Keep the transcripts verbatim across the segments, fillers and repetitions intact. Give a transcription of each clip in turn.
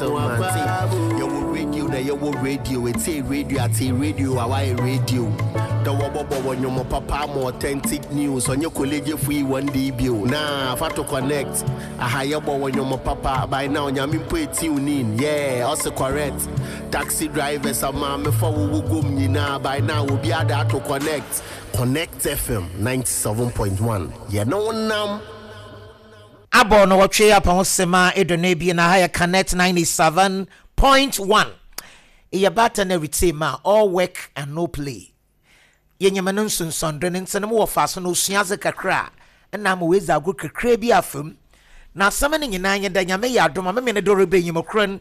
Yɛwɔ radio na yɛwɔ radio, ɛtie radio, ate radio a wayɛ radio da wɔbɔbɔ wɔ nnwom papa ma authentic news. Ɔnyɛ college free one day bio na fa to connect aha. Yɛbɔ wɔ nnwom papa by now. Nyame mpo ɛtiw nin, yeah, ɔse correct. Taxi drivers, amaamefo a wɔwɔ gom nyinaa, by now obi ada ato connect Connect F M ninety-seven point one. Yɛne wo nam. Abɔ no wɔtwe apa ho sema aduonu ebien na ha yɛ Connect ninety-seven point one. Ɛyɛ baata na retie ma all work and no play. Yɛnyɛma no nsonsɔndo no nti no mowɔ fa so no osua adze kakra a ɛna ama wɔadzi agorɔ kakra bi afam na asɛm no nyinaa nyɛ dɛ Nyame yɛ adom a memene de rebɛnyim korɔ no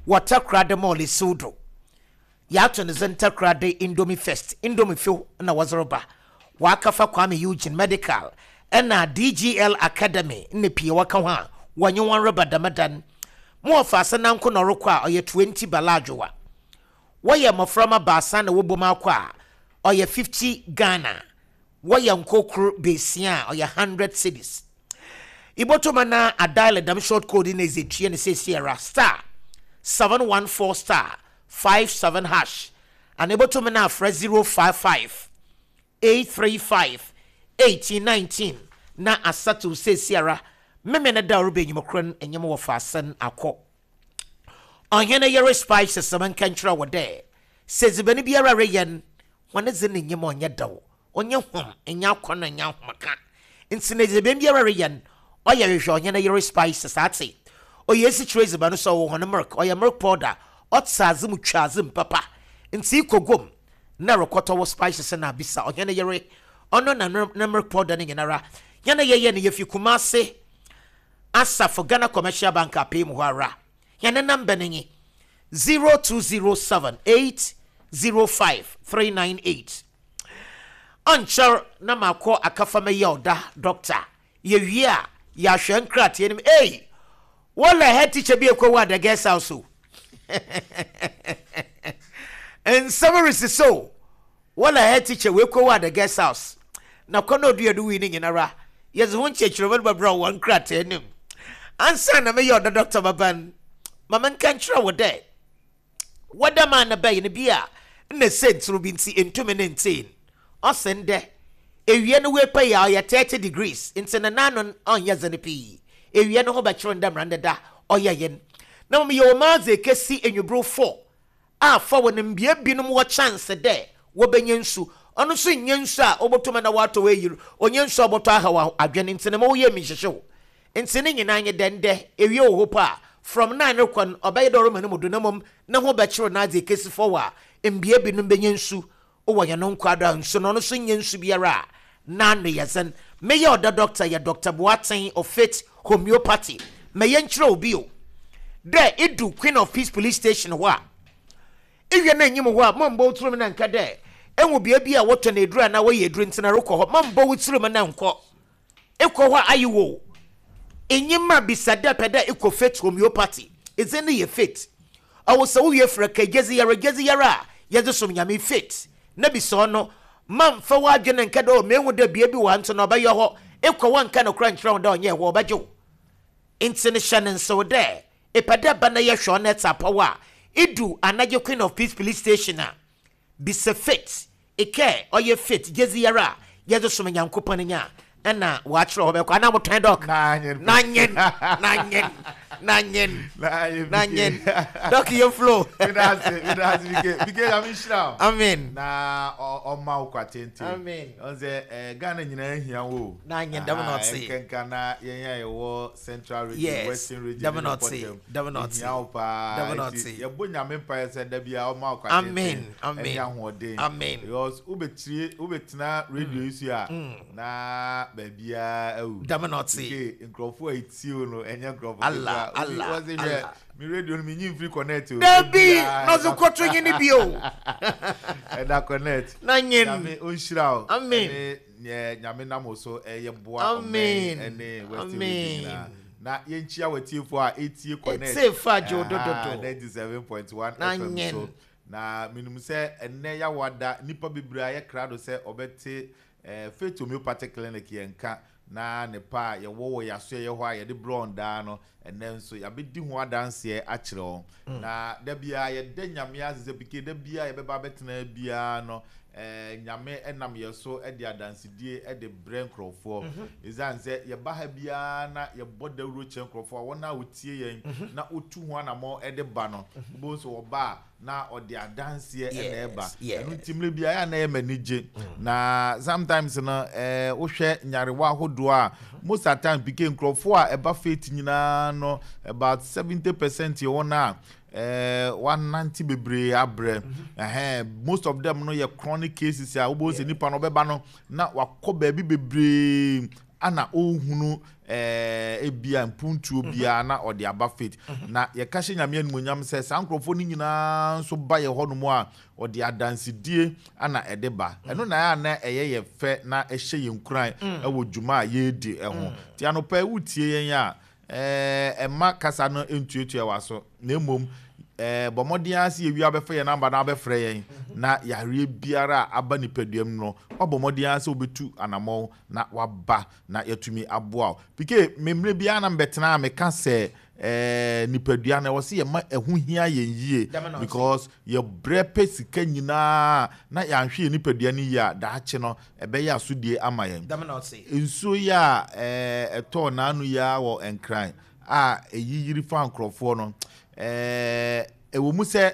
wɔ Takorade Mall esiw do. Yɛato ne dze Takorade Indomie Fest, Indomie few na wɔdze reba wɔakafa Kwame Eugene Medical ɛna D G L Academy ne pii wɔka ho a wɔnye wɔn reba dɛm mo wɔfa ase nanko na ɔrekɔ a ɔyɛ twenty baladwowa. Wɔyɛ mmɔframma baasa na wɔbɔ mu akɔ a ɔyɛ fifty Ghana. Wɔyɛ nkokoro beesia a ɔyɛ hundred cedis. Ibotoma na adial dɛm short code na ɛdze tue no seesiara, star seven one four star five seven hash, ana ibotoma na afrɛ zero five five eight three five eighteen nineteen na asatew seesiara. Meme no da ɔreba enyim korɔ no enyim wɔ faasɛn akɔ Ɔhene Yere Spices. Sɛm nka nkyerɛ wɔ dɛ sɛ dzibani biara reyɛ no wɔne dze ne nyim ɔnyɛ daw, ɔnyɛ hom ɛnyɛ akɔnɔ, ɛnyɛ ahomka. Nti na dzibani biara reyɛ no ɔyɛ hwehwɛ Ɔhene Yere Spices ate. Ɔyɛ esikyire dziban so ɔwɔ hɔn milk, ɔyɛ milk powder, ɔte adze mu twa adze mu papa. Nti ikɔ gom na rekɔtɔ wɔ spices na abisa Ɔhene Yere, ɔno na ne milk powder no nyinara. Yɛn yɛyɛ no yɛfi Kumase Asafo Ghana Commercial Bank apɛ mu hɔ ara. Yɛn number no nye zero two zero seven eight zero five three nine eight. Ɔnkyɛr na maakɔ akafa mɛyɛ ɔda doctor. Yɛwie a yɛahwɛ nkrateɛ no mu. Ei, wɔlɛ head teacher bi ekɔ wɔ ada guest house o, nsɛm resisi o. Wɔlɛ head teacher wɔ ekɔ wɔ ada guest house na kɔ na odua do wi ne nyinara yɛdze ho nkyerɛkyerɛmu no bɛbrɛ wɔ nkrataa no mu. Ansa na meyɛ ɔda doctor baba no, ma menka nkyerɛ wo dɛ wɔda maa no bɛyɛ no bi a nna sɛntiri bi nti ntumi ne nteen ɔsen dɛ ewia no wepa yi a ɔyɛ thirty degrees nti ne nano ɔnyɛ dze no pii. Ewia no ho bɛkyerɛ ndɛ mmerɛ deda ɔyɛ yɛn na mmom yɛwɔ maadze ekesi enwubere four a fa wɔ no mbea binom wɔ chance dɛ wɔbɛnya nsu. Ɔno nso nyɛ nsu a wɔbɛtɔm na wɔatɔ wɔ eyiri onye nsu a wɔbɛtɔ aha adwene nti ne ma wɔyɛ mi nhyehyɛw. Nti ne nyinaa nye dɛ ndɛ ewie wɔ hɔ po a from nine rekɔ no ɔbɛyɛ dɛ ɔrema no mu do na mmom ne ho bɛkyerɛw n'adze ekesi fɔw a mbea binom bɛnya nsu wɔ yɛn nkwa do a nsu no ɔno nso nyɛ nsu biara a n'ano yɛ dzen. Meyɛ ɔda doctor yɛ Doctor Boateng of Faith Homeopathy. Mɛyɛ nkyerɛ obi o dɛ edu Queen of Peace Police Station hɔ a ewie no enyim hɔ a mɔmbɔ wo tirim na nka dɛ ehu bea bi a wɔtɔ no eduru anaa wɔyɛ eduru ntina rekɔ hɔ. Mɔmbɔ wo tirim na nkɔ ekɔ hɔ a ayi wo enyim a bisa dɛ pɛ dɛ ekɔ Faith Homeopathy. Edze no yɛ Faith. Ɔwɔ sɛ wowie frɛ ka gyedzi yɛrɛ gyedzi yɛrɛ a yɛdze som Nyame Faith na bisa ɔno. Mamfa w'adwene nka dɛ o mehu dɛ bea bi wɔ ha nti na ɔbɛyɛ hɔ. Ekɔ wɔ nka no kora nkyerɛ wo dɛ ɔnyɛ hɔ ɔbɛgye wo. Nti no hyɛ ne nsew dɛ epɛ dɛ ba na yɛhwɛ ɔno ɛte apɔw a idu anagye Queen of Peace Police Station a bisa Faith eke ɔyɛ Faith gyedzi yɛrɛ a yɛdze som Nyankopɔn nya ɛna wɔakyerɛ hɔ bɛkɔ anaa motɔn doc. Nanyen nanyen nanyen nanyen doc yɛ flow. Medase, medase, bike bike. Nyame nhyira wo. Amen. Na ɔma wo kwa tenten. Amen. Ɔn sɛ eh, Ghana nyinaa hia wo. Nanyen dɛm na ɔte. Nkenka na yɛn a yɛwɔ Central Region, Yes. Western Region Dɛm ne na ɔte. Pɔtɛm, Dɛm na ɔte. hia wo paa. Dɛm na Nti ɔte. yɛbɔ Nyame mpaeɛ sɛ da bia ɔma wo kwa Amen. tenten Amen. ɛne ahoɔden, Amen. because wobɛtire wobɛtena radio yi so a na baabiaa awu. Dɛm na ɔte. Ke nkurɔfoɔ a ɛtie wo no ɛnyɛ nkurɔfoɔ Allah, ketewa. Obi- Allah, wɔse hwɛ Allah. me radio no menyi mfiri Connect o. Dabi. Biaa Na ɔdze kɔto nye ne bio. Ɛda Connect. Nanyen. Nyame ɔnhyira wo. Amen. Ɛne neɛ Nyame nam wo so ɛyɛ boa Amen. ɔman ɛne Western Amen. Region nyinaa. Na yɛnkyia w'atiefoɔ a ɛtie Connect Ɛtie fa gye wo dododo. ninety-seven point one Nanyen. F M so. Na menim sɛ ɛnnɛ yɛawada nnipa bebree a yɛkra do sɛ ɔbɛte eh, Faith Homeopathic Clinic yɛn ka. Na ne pa a yɛwɔ wɔ yɛaso yɛ hɔ a yɛde brɛ daa no, ɛnɛ nso yɛabɛdi ho adanseɛ akyerɛ wɔn. Na da biara yɛda Nyame ase sɛ pike da biara yɛbɛba abɛtena biara no, ɛɛ Nyame ɛnam yɛ so ɛde adansedie ɛde brɛ nkurɔfoɔ, ɛsiane sɛ yɛba ha biara na yɛbɔ dawuro kyerɛ nkurɔfoɔ a wɔn a wɔtie yɛn na wɔtu ho anammɔ ɛde ba no, wobɛhu sɛ wɔba a na ɔde adanseɛ ɛna ɛba. Yes, ɛno nti mmerɛ biara yɛ a na ɛyɛ m'ani gye. Na sometimes no, ɛɛ wohwɛ nyarewa ahodoɔ a most of the time, pike, nkurɔfoɔ a ɛba Faith nyinaa no, about seventy percent yɛ wɔn a ɛɛ wanante bebree abrɛ. Ɛhɛn, most of them no yɛ chronic cases a wobɛhu sɛ nipa no ɔbɛba no na wakɔ baabi bebree ana ɔnhunu ɛɛ ebia mpuntuo biara na ɔde aba Faith. Na yɛka hyɛ Nyame animuonyam sɛ saa nkurɔfoɔ no nyinaa nso ba yɛ hɔnom a, ɔde adansedie ana ɛde ba. Ɛno na ɛyɛ a na ɛyɛ yɛ fɛ na ɛhyɛ yɛn nkuran ɛwɔ dwuma a yɛredi ɛho. Nti anɔpa yi wotie yɛn a, ɛɛ ɛma kasa no ntuatua wa so, na mmom ɛɛ bɔ mmɔden ara sɛ yɛwie abɛfa yɛn number na abɛfrɛ yɛn. Na yareɛ biara a aba nipadua mu no, wabɔ mmɔden ara sɛ wobɛtu anammɔn na waba na yɛatumi aboa wo. Pike, mmerɛ biara na mbɛtena a meka sɛ ɛɛ nipadua no, ɛwɔ sɛ yɛma ɛho hia yɛn yie, Dɛm na ɔte. because yɛbrɛ pɛ sika nyinaa na yɛanhwɛ yɛn nipadua no yie a, daakye no ɛbɛyɛ asodie ama yɛn. Dɛm na ɔte. Nsuo yi a ɛɛ ɛtɔɔ n'ano yi a wɔ Nkran a ɛyi yiri fa nkurɔfoɔ no, ɛɛ ɛwɔ mu sɛ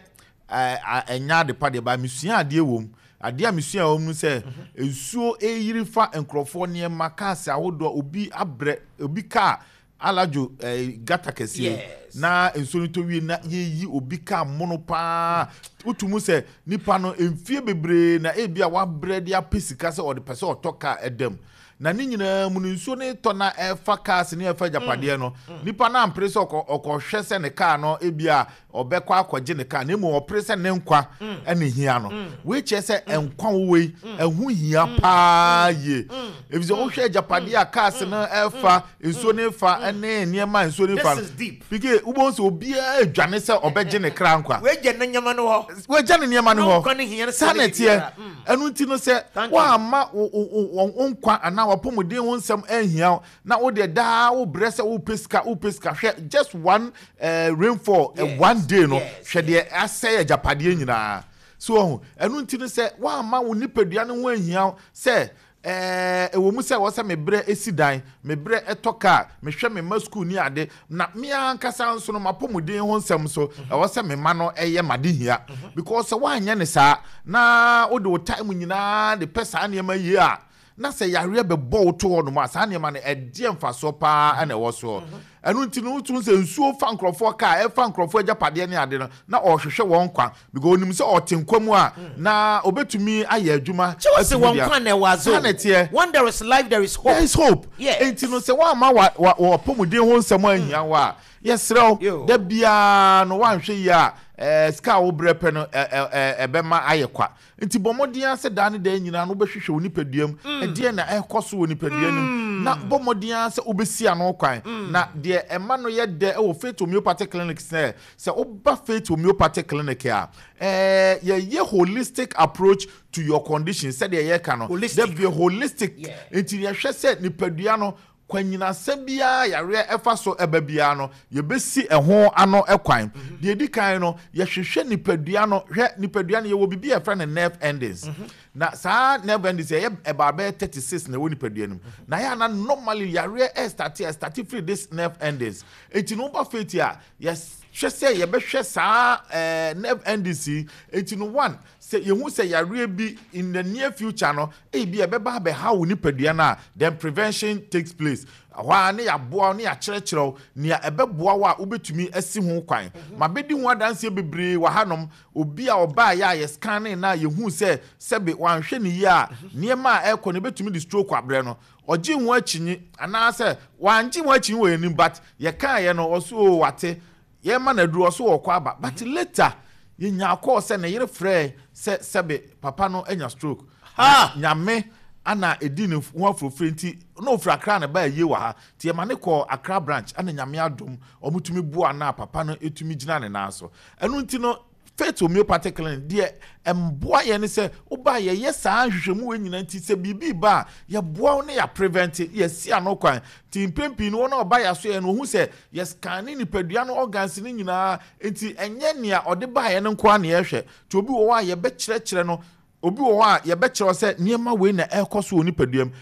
ɛɛ a- ɛnya ade pa deɛ ba, mesua adeɛ wɔ mu. Adeɛ a mesua wɔ mu sɛ nsuo ɛyiri fa nkurɔfoɔ nneɛma, cars ahodoɔ, obi abrɛ obi kaa aladwo ɛɛ gutter kɛseɛ Yes. na nsuo no tɔ wie na yɛyi obi kaa mono paa. Wotu sɛ nipa no mfie bebree na ebi a wabrɛ de apɛ sika sɛ ɔde pɛ sɛ ɔtɔ kaa ɛdam, na ne nyinaa mu no nsuo no tɔ na ɛfa cars ne ɛfa agyapadeɛ no, nipa no ampere sɛ ɔkɔ ɔkɔhwɛ sɛ ne kaa no ebi a ɔbɛkɔ akɔgye ne kaa, na emu ɔpere sɛ ne nkwa ɛne hia no. Wei kyerɛ sɛ nkwa wowɔ yi ɛho hia paa yie, efisɛ wohwɛ agyapadeɛ a cars no ɛfa nsuo no fa ɛne nneɛma a nsuo no fa This no is deep. Pike, wobɛhu sɛ obiara adwane sɛ ɔbɛgye ne kra nkwa. Wagya ne nneɛma no hɔ. Wagya ne nneɛma no Na hɔ. nkwa no hia no saa na sɛ ɛteɛ biribiara. Mm. Ɛno nti no sɛ Thank you. woamma wo- wo wo- wo nkwa anaa wapɔmuden ho nsɛm anhia wo na wodeɛ daa wobrɛ sɛ wopɛ sika, wopɛ sika, hwɛ, just one uh, rainfall, uh, Yes, one day no, yes, hwɛ deɛ asɛe agyapadeɛ nyinaa so ɔho. Ɛno nti no sɛ woamma wo nipadua no ho anhia wo sɛ ɛɛ ɛwɔ mu sɛ wɔ sɛ mebrɛ esi dan, mebrɛ ɛtɔ kaa, mehwɛ me mma sukuu ni ade, na me ankasa nso no mapɔmuden ho nsɛm so ɛwɔ sɛ me ma no ɛyɛ made hia, because sɛ woanyɛ ne saa na wode wo time nyinaa de pɛ saa nneɛma yie a, na sɛ yareɛ bɛbɔ wo to hɔ nom a, saa nneɛma no ɛdeɛ mfasoɔ paa ɛna ɛwɔ soɔ? Ɛno nti no wotu sɛ nsuo fa nkurɔfoɔ kaa, ɛfa nkurɔfoɔ agyapadeɛ ne ade no, na ɔrehwehwɛ wɔn nkwa, because onim sɛ ɔte nkwa mu a na obɛtumi ayɛ adwuma. Kyɛ wɔ sɛ atumi wɔn de a- nkwa na ɛwɔ adze o. Saa na ɛteɛ. When there is life, there is hope. There is hope. Yes. Enti no sɛ woama wa wa wɔpɔmuden ho nsɛm ahia wo a, yɛserɛ Yo. wo, da biara no woanhwɛ yie a, ɛɛ sika a wobrɛ pɛ no ɛ ɛ ɛ ɛbɛma ayɛ kwa. Nti bɔ mmɔden ara sɛ daa ne daa nyinaa no wobɛhwehwɛ wo nipadua mu, ɛdeɛ na ɛkɔ so wɔ nipadua no mu, na bɔ mmɔden ara sɛ wobɛsi ano kwan. Na deɛ ɛma no yɛ dɛ ɛwɔ Faith Homeopathic Clinic sɛ sɛ woba Faith Homeopathic Clinic a, ɛɛ yɛyɛ holistic approach to your condition, sɛdeɛ yɛka no. Holistic. Da bi holistic. Yeah. Nti yɛhwɛ sɛ nipadua no kwanyinasɛ biara yareɛ ɛfa so ɛba biara no, yɛbɛsi ɛho ano ɛkwan. Deɛ edi kan no, yɛhwehwɛ nipadua no. Hwɛ, nipadua no yɛwɔ biribi a yɛfrɛ no nerve endings, na saa nerve endings yɛyɛ ɛba bɛyɛ thirty six na ɛwɔ nipadua no mu. Na yɛ ana normally yareɛ ɛstart ɛstart firi this nerve endings. Eti no woba Faith a, yɛhwɛ sɛ yɛbɛhwɛ saa ɛɛ nerve endings yi. Eti no one, sɛ yɛhu sɛ yareɛ bi in the near future no ebi ɛbɛba abɛha wo nipadua no a, then prevention takes place. Hɔ a ne yɛaboa wo ne yɛakyerɛkyerɛ wo nea ɛbɛboa wo a wobɛtumi asi ho kwan. Ma bɛdi ho adanseɛ bebree wɔ hanom. Obi a ɔbaa yɛ a yɛ scanning na yɛhu sɛ sɛbe wanhwɛ ne yie a, nneɛma a ɛrekɔ no ebɛtumi de stroke abrɛ no, ɔgye ho akyinyi anaasɛ wangye ho akyinyi wɔ anim, but yɛkaeɛ no ɔso o wate, yɛma no aduru, ɔso wɔkɔ aba, but later yɛnya kɔɔ sɛ ne yere frɛ sɛ sɛbe papa no anya stroke. Ha! Nyame ana ɛdi ne ho afurofuro nti na ofiri Akra ne ba yie wɔ ha, nti yɛma ne kɔ Akra branch, ana Nyame adom ɔmotumi boa na papa no ɛtumi gyina ne nan so. Ɛno nti no Faith Homeopathic Clinic deɛ, mboa yɛn ne sɛ woba, yɛyɛ saa nhwehwɛmu wɔ nyinaa. Nti sɛ biribi ba a, yɛboa wo ne yɛ prevent, yɛsi ano kwan. Nti mpɛn pii no, wɔn a ɔba yɛ so yɛ no, ohun sɛ yɛscan ne nipadua no organs ne nyinaa. Nti ɛnyɛ nea ɔde baayɛ no nko ara na yɛhwɛ. Nti obi wɔ hɔ a yɛbɛkyerɛkyerɛ no, obi wɔ hɔ a yɛbɛkyerɛ sɛ nneɛma wei na ɛrekɔ so wɔ nipadua mu.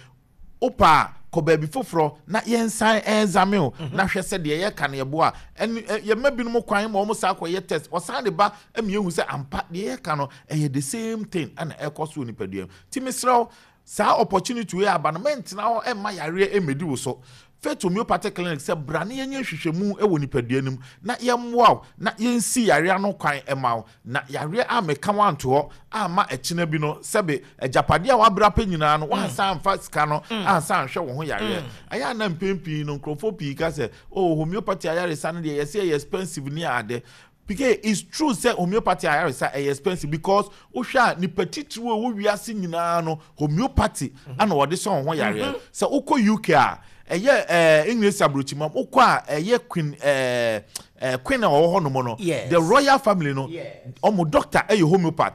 Wopa a, kɔ baabi foforɔ na yɛnsan ɛnzame o na hwɛ sɛ deɛ yɛka no yɛboa. Ɛne yɛma binom kwan ma wɔn saa kɔyɛ test, ɔsan de ba ɛmi ehu sɛ ampa, deɛ yɛka no ɛyɛ the same thing ɛna ɛkɔ so wɔ nipadua mu. Ti mesrɛw, saa opportunity wei aba no, mɛntena hɔ ɛmma yareɛ ɛmɛdi wo so. Faith Homeopathic Clinic sɛ bra ne yɛnyɛ nhwehwɛmu wɔ nipadua no mu na yɛmmoa wo na yɛnsi yareɛ ano kwan ɛma wo, na yareɛ a meka wo anto hɔ ama ɛkyena bi no, sɛbe, agyapadeɛ a wabra pɛ nyinaa no, wansa amfa sika no ansa anhwɛ wo ho yareɛ. Ɛyɛ ana mpɛn pii no, nkurɔfoɔ pii ka sɛ, "Oh, homeopathy ayaresa no deɛ, yɛsɛ ɛyɛ expensive." Ne ade because it's true sɛ homeopathy ayaresa ɛyɛ expensive, because wohwɛ a, nipa titiri a ɛwɔ wiase nyinaa no, homeopathy ana wɔde sɔn ho yareɛ. Sɛ wokɔ U K a, ɛyɛ ɛɛ English aburokyima, wokɔ a, ɛyɛ queen ɛɛ ɛɛ queen a ɔwɔ hɔ nom no, Yes. the royal family no, Yes. ɔmo doctor ɛyɛ homeopath.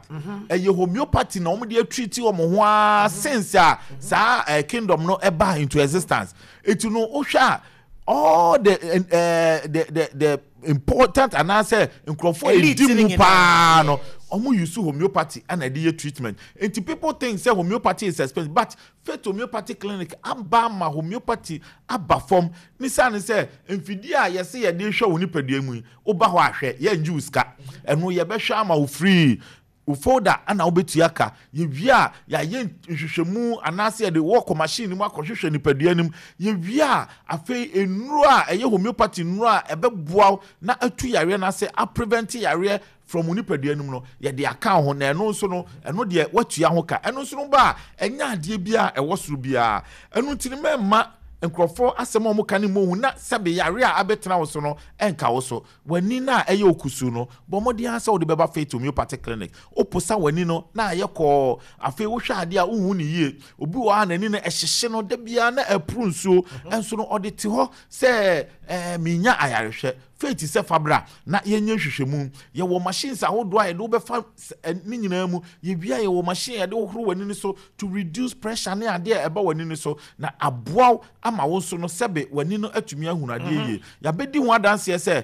Ɛyɛ homeopathy na ɔmo de atreat ɔmo ho aa since a saa ɛɛ kingdom no ɛba into existence. Eti no, wohwɛ a, all the uh, the the the important anaasɛ nkurɔfoɔ a Elite edi ne mu nyinaa. paa no, ɔmo use homeopathy ɛna ɛde yɛ treatment. Nti people think say homeopathy is expensive, but Faith Homeopathy Clinic aba ama homeopathy aba fam ne saa ne sɛ mfidie a yɛsɛ yɛde hwɛ wo nipadua mu yi, woba hɔ ahwɛ, yɛngye wo sika. Ɛno yɛbɛhwɛ ama wo free. Wo folder ana wobɛtua ka. Yɛwie a, yɛayɛ nhwehwɛmu anaasɛ yɛde wɔkɔ machine no mu akɔhwehwɛ nipadua no mu. Yɛwie a, afei nnuro a ɛyɛ homeopathy nnuro a ɛbɛboa wo na atu yareɛ no ase, aprevent yareɛ from wo nipadua no mu no, yɛde aka wo ho. Na ɛno nso no, ɛno deɛ, woatua ho ka. Ɛno nso no ba a, ɛnyɛ adeɛ bi a ɛwɔ soro biara. Ɛno nti no, mɛmma nkurɔfoɔ asɛm a wɔka ne mu ohu na sɛbe yare a abɛtena wo so no ɛnka wo so. W'ani no a ɛyɛ okusu no, bɔ mmɔden ara sɛ wode bɛba Faith Homeopathic Clinic. Woposa w'ani no na ayɛ kɔɔ. Afei wohwɛ adeɛ a, wohu ne yie. Obi wɔ hɔ a n'ani no ɛhyehye no da biara na ɛporo nsuo, ɛnso no ɔde te hɔ sɛ ɛɛ menya ayarehwɛ. Faith sɛ fabra na yɛnyɛ nhwehwɛmu. Yɛwɔ machines ahodoɔ a yɛde wobɛfa s- ɛ, ne nyinaa mu. Yɛwia, yɛwɔ machine a yɛde wohoro w'ani no so to reduce pressure ne adeɛ a ɛba w'ani no so na aboa wo ama wo nso no, sɛbe, w'ani no atumi ahunu adeɛ yie. Yɛabɛdi ho adanseɛ sɛ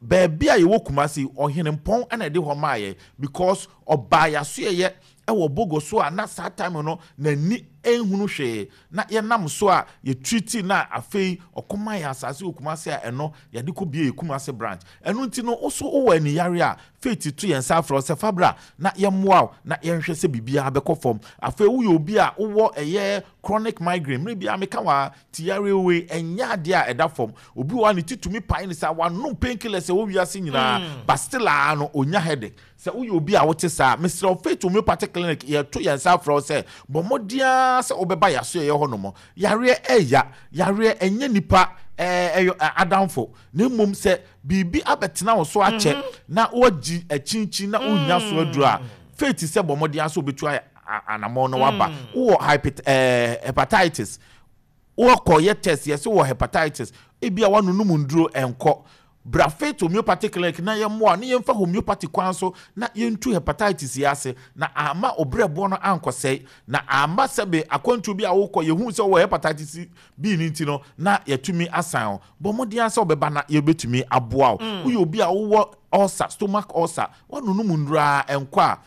baabi a yɛwɔ Kumasi, Ɔhene Mpɔn ɛna ɛde hɔ maa yɛ, because ɔbaa yɛasoɛyɛ ɛwɔ Bogo so a, na saa time no n'ani nhunu hwee, na yɛnam so a yɛtreat, na afei ɔkɔma yɛ asase wɔ Kumasi a ɛno yɛde kɔ bie yɛ Kumasi branch. Ɛno nti no, woso wowɔ aniyare a, Faith to yɛn nsa afrɛ wo sɛ fabra na yɛmmoa wo na yɛnhwɛ sɛ biribiara bɛkɔ fam. Afei woyɛ obi a wowɔ ɛyɛ chronic migraine, mmerɛ biara meka wɔ ti yare wei, ɛnyɛ adeɛ a ɛda fam. Obi wɔ hɔ a ne ti tumi pae ne saa, wanom painkillers ɛwɔ wiase nyinaa, but still a no onya headache. Sɛ woyɛ obi a wote saa, mesrɛ wo, Faith Homeopathic Clinic yɛto yɛn nsa afrɛ wo sɛ bɔ mmɔden ara sɛ wobɛba yɛaso yɛyɛ hɔ nom. Yareɛ ɛya, yareɛ ɛnyɛ nipa ɛɛ ɛyɛ adamfo, na mmom sɛ biribi abɛtena wo so akyɛ na woagyi akyinkyin na wonya so aduru a, Faith sɛ bɔ mmɔden ara sɛ wobɛtu ayɛ anammɔn na waba. Wowɔ hypet ɛɛ hepatitis, wɔkɔyɛ test, yɛsɛ wɔ hepatitis, ebi a wanonum nduro ɛnkɔ, bra Faith Homeopathic Clinic na yɛmmoa na yɛmfa homeopathy kwan so na yɛntu hepatitis yi ase na ama obrɛboɔ no ankɔsɛe, na ama sɛbe akwantuo bi a wokɔ, yɛhu sɛ wowɔ hepatitis B no nti no, na yɛtumi asan wo. Bɔ mmɔden sɛ wobɛba na yɛbɛtumi aboa wo. Woyɛ obi a wowɔ ulcer, stomach ulcer, woanonum nduro a ɛnkɔ a,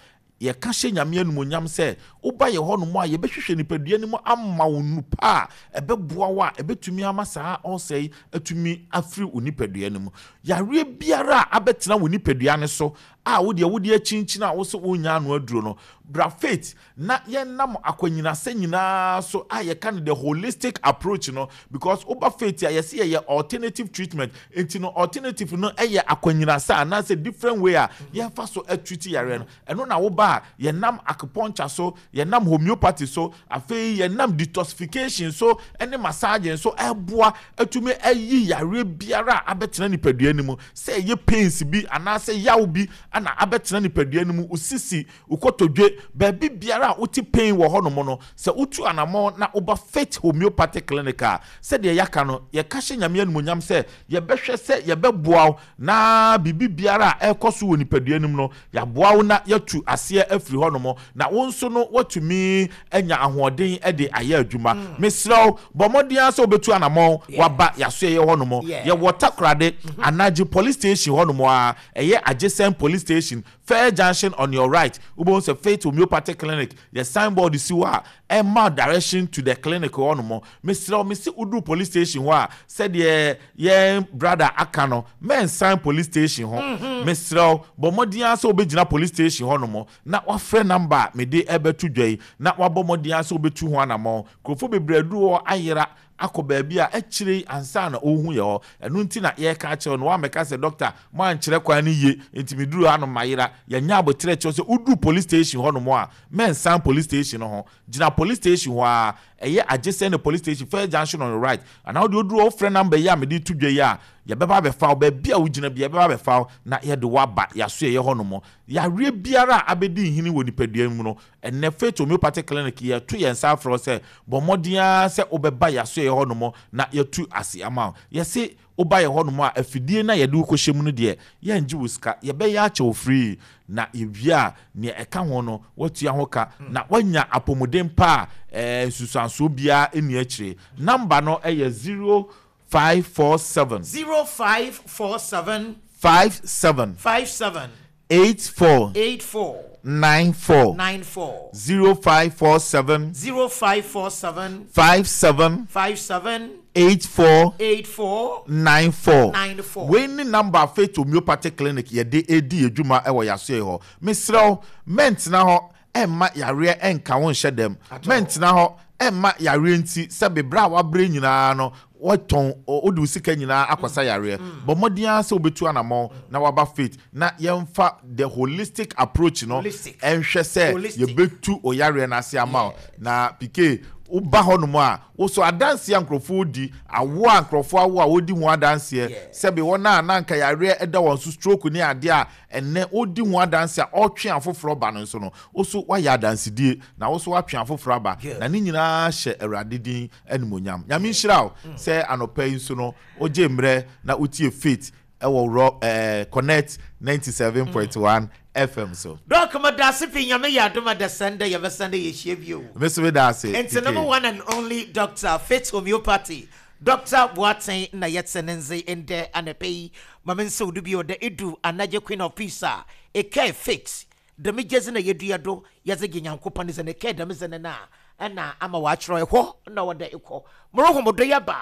yɛka hyɛ Nyame animonyam sɛ woba yɛ hɔ nom a, yɛbɛhwehwɛ nipadua no mu ama wo nupa a ɛbɛboa wo a ɛbɛtumi ama saa ɔsɛ yi atumi afiri wo nipadua no mu. Yareɛ biara a abɛtena wo nipadua no so a wodeɛ wode akyinkyini a wo sɛ wonya ano aduro no, bra Faith na yɛnam akwanyinasɛ nyinaa so a yɛka no the holistic approach no, because woba Faith a, yɛsɛ yɛyɛ alternative treatment. Nti no, alternative no ɛyɛ akwanyinasɛ anaasɛ different way a yɛmfa so atreat yareɛ no. Ɛno na woba a, yɛnam acupuncture so, Yɛnam homeopathy so, afei yɛnam detoxification so ɛne massaging so ɛboa atumi ayi yareɛ biara a abɛtena nipadua no mu, sɛ ɛyɛ pains bi anaasɛ yaw bi ana abɛtena nipadua no mu, osisi, okotodwe, baabi biara a wote pain wɔ hɔnom no, sɛ wotu anammɔn na woba Faith Homeopathy Clinic a, sɛdeɛ yɛaka no, yɛka hyɛ Nyame animonyam sɛ yɛbɛhwɛ sɛ yɛbɛboa wo na biribi biara a ɛrekɔ so wɔ nipadua no mu no, yɛaboa wo na yɛatu aseɛ afiri hɔnom, na wo nso no woatumi anya ahoɔden de ayɛ adwuma. mm. Mesrɛ wo, bɔ mmɔden ara sɛ wobɛtu anammɔn waba yɛasoɛyɛ hɔnom. Yɛwɔ Takorade, Anagye Police Station hɔnom a ɛyɛ adjacent police station, fair junction on your right, wobɛhu sɛ Faith Homeopathic Clinic yɛ signboard si hɔ a ɛma direction to the clinic hɔnom. Mesrɛ wo, mese woduru police station hɔ a, sɛdeɛ yɛn brother aka no, mɛnsan police station ho. Mesrɛ wo, bɔ mmɔden ara sɛ wobɛgyina police station hɔnom na wafrɛ number a mede ɛbɛto dwa yi na wabɔ mmɔden ara sɛ wobɛtu ho anammɔn. Nkurɔfoɔ bebree aduru hɔ ayera akɔ baabi a akyire yi ansa na ɔrehu yɛ hɔ. Ɛno nti na yɛreka akyerɛ no, woammɛka sɛ, "Doctor, moankyerɛ kwan no yie nti meduru hanom mayera." Yɛnyɛ aboterɛ kyerɛ sɛ woduru police station hɔnom a, mɛnsan police station no ho. Gyina police station hɔ a ɛyɛ adjacent the police station, first junction on your right, anaa wode woduru hɔ, wofrɛ number yi a mede to dwa yi a, yɛbɛba abɛfa wo. Baabi a wogyina bi, yɛbɛba abɛfa wo na yɛde wo aba yɛaso yɛyɛ hɔnom. Yareɛ biara a abɛdi nhini wɔ nipadua mu no, ɛnɛ Faith Homeopathic Clinic yɛto yɛn nsa afrɛ wo sɛ bɔ mmɔden ara sɛ wobɛba yɛaso yɛyɛ hɔnom na yɛtu ase ama wo. Yɛse woba yɛ hɔnom a, afidie no a yɛde wo kɔhyɛ mu no deɛ, yɛngye wo sika, yɛbɛyɛ akyɛ wo free, na yɛwie a, nea ɛka ho no woatua ho ka na woanya apɔmuden pa a ɛɛ nsusuansoɔ biara nni akyire. Number no ɛyɛ zero five four seven zero five four seven five seven five seven eight four eight four nine four. nine four. zero five four seven zero five four seven five seven five seven eight four eight four nine four. nine four. Wei ne number Faith Homeopathic Clinic yɛde edi adwuma ɛwɔ yasoɛ hɔ. Mesrɛ wo, mɛntena hɔ ɛmma yareɛ ɛnka wo nhyɛ dɛm. Mɛntena hɔ ɛmma yareɛ nti sɛ bebree a wabrɛ nyinaa no wɔtɔn, wode wo sika nyinaa akɔsa yareɛ. Bɔ mmɔden ara sɛ wobɛtu anammɔn na waba Faith na yɛmfa the holistic approach no Holistic. ɛnhwɛ sɛ Holistic. yɛbɛtu o yareɛ no ase ama wo. Na pike woba hɔnom a, woso adanseɛ a nkurɔfoɔ di, awo a nkurɔfoɔ awo a wɔdi ho adanseɛ, Yeah. sɛbi wɔn a na nka yareɛ ɛda wɔn so, stroke ne adeɛ a ɛnɛ wodi ho adanseɛ a ɔtwe afoforɔ ba no nso no, woso wayɛ adansedie na woso watwe afoforɔ aba. Good. Na ne nyinaa hyɛ Awurade din animonyam. Nyame nhyira wo sɛ anɔpa yi nso no wogye mmerɛ na wotie Faith ɛwɔ rɔ ɛɛ Connect ninety seven point one F M so. Doc, medase pii. Nyame yɛ adom a, dasɛn dɛ yɛbɛsan dɛ yɛhyia bio. Me so meda ase. Nti number one and only Doctor Faith Homeopathy, Doctor Boateng, na yɛte ne nze ndɛ anɔpɛ yi. Ma me nsa wo do bio dɛ edu Anagye Queen of Peace a, ɛkae Faith dɛm gyedzi na yɛdua do yɛdze gye Nyankopɔn dze ne kae dɛm dze ne no a ɛna ama wɔakyerɛ ɛhɔ na wɔda ekɔ. Morohom do yɛba,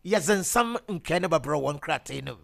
yɛdze nsɛm nkɛɛ no bɛbrɛ wɔn krataa no mu.